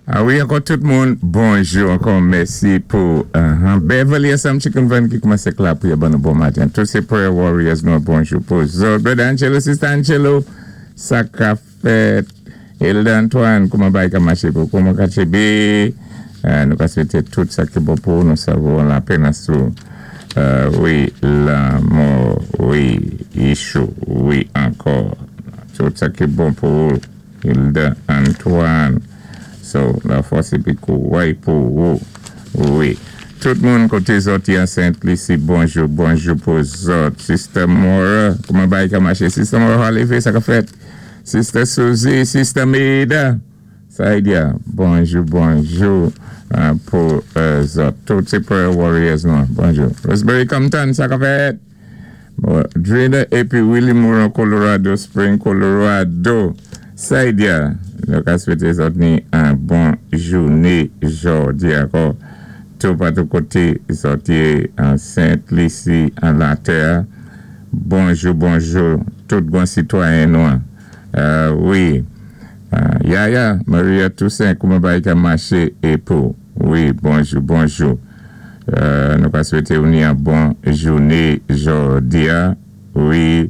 A wi, ankò tout moun, bonjou, ankò mèsi pou Beverly ansanm Chicken Van ki koumansé la pou ban nou bon maten. Tout sé prayer warriors nou, bonjou pou zòt. Brother Angelo, Sister Angelo, sa ka fèt. Hilda Antoine, kouman bagay ka maché pou, kouman ka tchébé, nou ka swété tout sa ki bon pou nou savon lapenn sou. Wi, lanmò, wi, Yishou, wi, ankò. Tout sa ki bon pou Hilda Antoine. So, lafòs épi kouway pou ou. Wi. Tout moun koté zòt an Sent Lisi, bonjou, bonjou pou zòt. Sister Mora, kouman bagay ka maché? Sister Mora, lévé, sa ka fèt? Sister Suzy, Sister Maida, Saidia, bonjou, bonjou pou zòt. Tout sé prayer warriors nou, bonjou. Rosemary Compton, sa ka fèt? Bon, Drina épi Willie Moore Colorado Spring, Colorado. Saidia, nou ka swété zòt ni an bon jouné jòdi ankò. Tout patou koté zòt yé an Sent Lisi, an latè. Bonjou, bonjou, tout bon sitwayen nou. Wi. Yaya, Maria Toussaint, kouman bagay ka maché é pou? Wi, bonjou, bonjou. Nou ka swété ou ni an bon jouné jòdi a. Wi,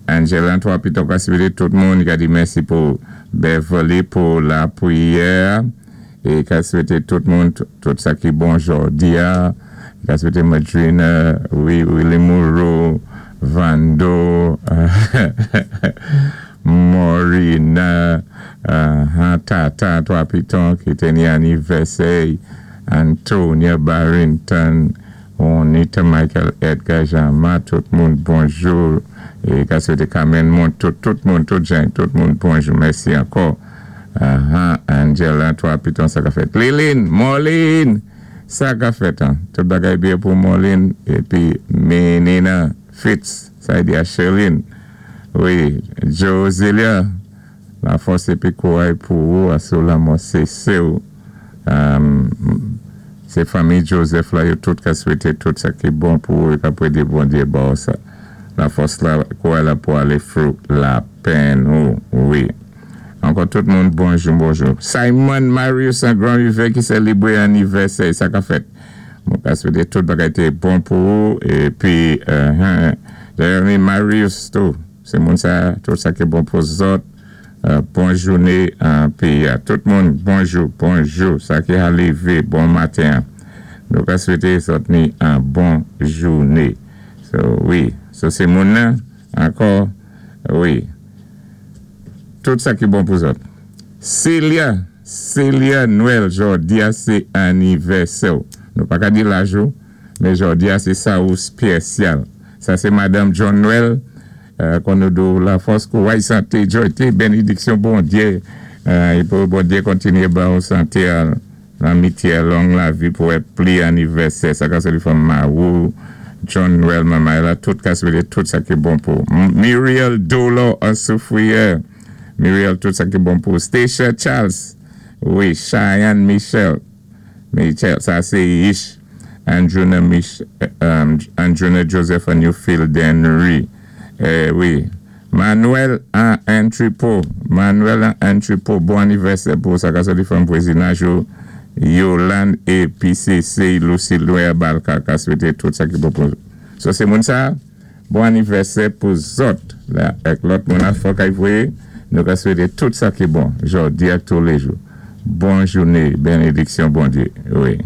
Angela Antoine pito ka swété tout moun ka di mèsi pou Beverly pou lapriyè é ka swété tout moun tout sa ki bon jòdi a. Ka swété Madrina, wi, Willie Moreau, Vando, Morina, Tata, Twa Piton ki té ni anivèsè, Antonia Barrington, Juanita Michael Edgar Jean-Marc, tout moun bonjou. É ka swété Carmen Mont, tout moun, tout jan, tout moun bonjou. Mèsi ankò. Angela, Twa Piton, sa ka fèt. Lilin, Molin, sa ka fèt. Hein? Tout bagay byen pou Molin. Épi Menina Fitz, sa di a Sherline. Wi, Josilia, lafòs épi kouway pou ou, asou lanmò sésé ou. Sé fanmi Joseph la, yo tout ka swété tout sa ki bon pou ou é ka prédé Bondyé ba ou sa. Lafòs la, kouway la pou alé through lapenn ou, wi. Ankò tout moun, bonjou, bonjou. Simon Marius, an Grand Rivière ki sélébré anivèsè, sa ka fèt. Mwen ka swété tout bagay té bon pou ou, épi, Jeremy Marius tou, sé moun sa, tout sa ki bon pou zòt, bon jouné an péyi a. Tout moun, bonjou, bonjou, sa ki a lévé, bon maten. Nou ka swété zòt ni an bon jouné. So, wi, so sé moun nan, ankò, wi. Tout sa ki bon pou zòt. Celia, Celia Noël, jòdi a sé anivèsè. Nou pa ka di laj ou, men jòdi a sé sa ou spésyal. Sa sé Madanm John Noël, kon nou di ou lafòs, kouway, santé, jòyté, bénédiksyon Bondyé, é pou Bondyé kontinyé ba ou santé, lanmityé, long lavi pou wè pli anivèsè. Sa ka sé fanm Marou, John Noël, manmay la, tout ka swété tout sa ki bon pou. Muriel Dolo an Soufrière. Muriel, tout sa ki bon pou. Stacia Charles. Wi, Cheyenne Michel. Michel, sa sé Ish. Andruna Mich, Andruna Joseph an Newfield Henry. Wi. Manuel an Entrepot. Manuel an Entrepot. Bon anivèsè pou sa ka soti fanm vwazinaj ou. Yolande et PCC Lucille Noël Balka ka swété tout sa ki bon pou. So sé moun sa, bon anivèsè pou zòt. La, ak lòt moun a fòk ay voyé, nou ka swété tout sa ki bon, jòdi ak toulé jou. Bon jouné, bénédiksyon Bondyé. Wi.